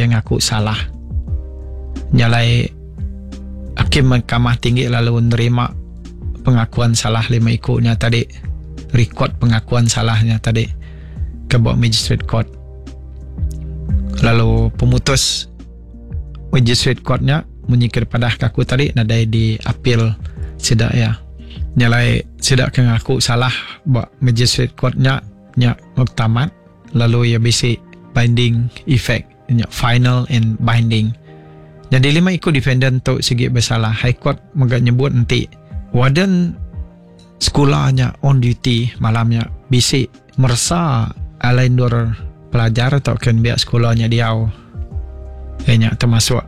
iya ngaku salah. Nya alai Hakim Mahkamah Tinggi lalu nerima pengakuan salah lima iku nya tadi, rekod pengakuan salah nya tadi ke ba Magistrate Court. Lalu pemutus Magistrate Court nya munyi ke dipadah ke aku tadi nadai diapil sida iya. Nya alai sida ke ngaku salah ba Magistrate Court nya nya muktamad lalu iya bisi binding effect nya final and binding. Nyadi lima iku defendant tu sigi besalah. High Court mega nyebut enti warden sekula nya on duty malam nya bisi meresa alai endur pelajar tauka nembiak sekula nya diau. Iya nya termasuk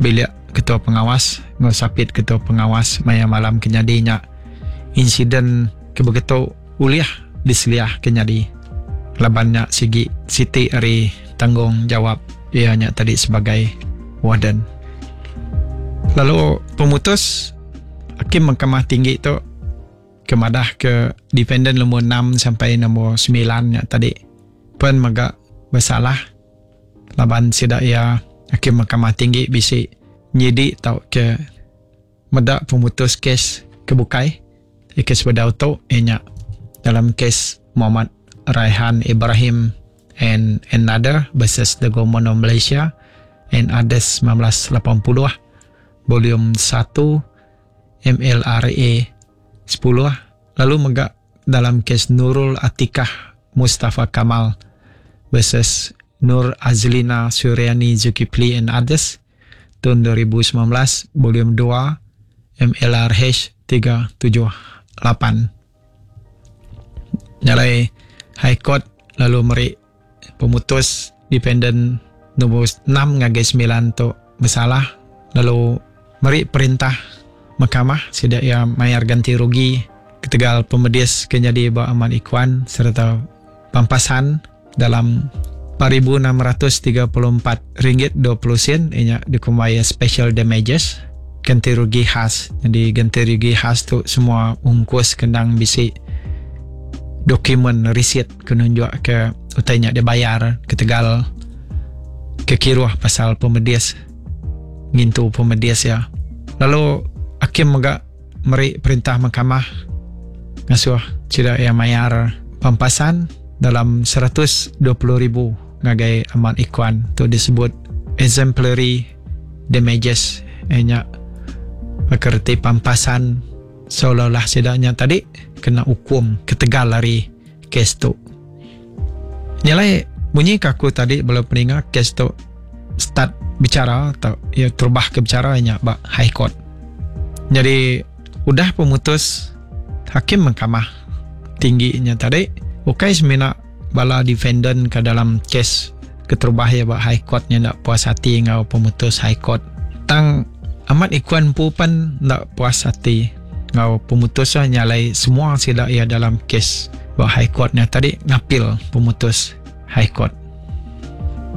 bilik ketua pengawas enggau sapit ketua pengawas maya malam ke nyadi nya. Insiden ke begitu ulih diseliah ke nyadi laban nya sigi siti ari tanggungjawab iya nya tadi sebagai warden. Lalu pemutus Hakim Mahkamah Tinggi tu ke madah ke defendant nombor 6 sampai nombor 9 nya tadi pen mega besalah laban sida iya Hakim Mahkamah Tinggi bisi nyidi tauka meda pemutus kes ke bukai ke sebedau tu iya nya dalam kes Muhammad Raihan Ibrahim and Another versus the Government of Malaysia and Others 1980 Volume 1 MLRA 10 lalu mega dalam kes Nurul Atikah Mustafa Kamal versus Nur Azlina Suryani Zulkifli and Others taun 2019 Volume 2 MLRH 378. Nya alai High Court lalu meri pemutus defendant nombor 6 ngagai 9 tu besalah lalu meri perintah mahkamah sida iya mayar ganti rugi ketegal pemedis ke nyadi ba Ahmad Ikhwan sereta pampasan dalam 4634 ringgit 20 sen iya nya dikumbai special damages ganti rugi khas. Nyadi ganti rugi khas tu semua ungkus ke endang bisi dokumen risit ke nunjuk ke utai nya dibayar ketegal ke kiruh pasal pemedis ngintu pemedis iya. Lalu hakim mega meri perintah mahkamah ngasuh sida iya mayar pampasan dalam 120,000 ngagai Ahmad Ikhwan tu disebut exemplary damages iya nya baka reti pampasan seolah-olah sida nya tadi kena ukum ketegal ari kes tu. Nya alai munyi ke aku tadi bala peninga kes tu start bicara atau iya terubah ke bicara nya ba High Court. Jadi udah pemutus hakim mahkamah tinggi nya tadi ukai semina bala defendant ke dalam kes keterubah iya ba High Court nya enda puas ati enggau pemutus High Court. Tang amat Ikuan empu pen enda puas ati enggau pemutus iya nya alai semua sida iya dalam kes ba High Court nya tadi ngapil pemutus High Court.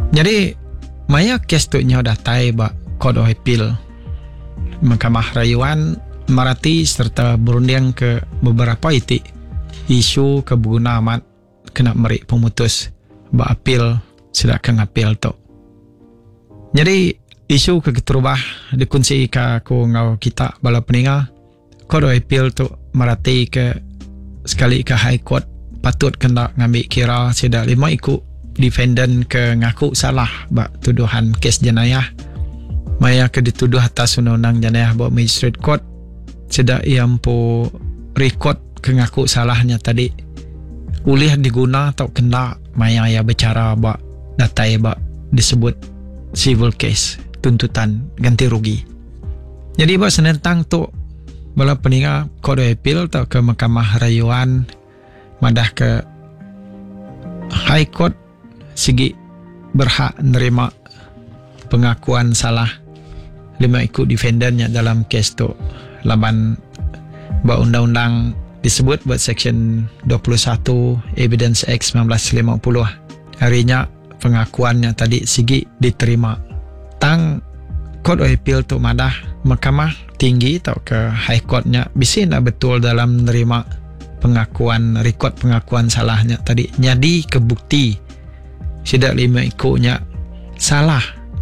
Nyadi maya kes tu nyau datai ba Court of Appeal Mahkamah Rayuan merati sereta berunding ke beberapa iti isu ke beguna amat kena meri pemutus ba apil sida ke ngapil tu. Nyadi isu ke keterubah dikunsika aku enggau kita bala peninga, Court of Appeal tu merati ke sekali ke High Court patut ke enda ngambi kira sida lima iku defendant ke ngaku salah ba tuduhan kes jenayah maya ke dituduh atas undang-undang jenayah ba Magistrate Court sida iya empu rekod ke ngaku salah nya tadi ulih diguna tauka enda maya iya bechara ba datai ba disebut civil case tuntutan ganti rugi. Nyadi ba senentang tu bala peninga Court of Appeal tauka Mahkamah Rayuan madahka High Court sigi berhak nerima pengakuan salah lima iku defendant nya dalam kes tu laban ba undang-undang disebut ba Seksyen 21 Evidence Act 1950. Ari nya pengakuan nya tadi sigi diterima. Tang Court of Appeal tu madah Mahkamah Tinggi tauka High Court nya bisi enda betul dalam nerima pengakuan rekod pengakuan salah nya tadi nyadi ke bukti sida lima iku nya salah.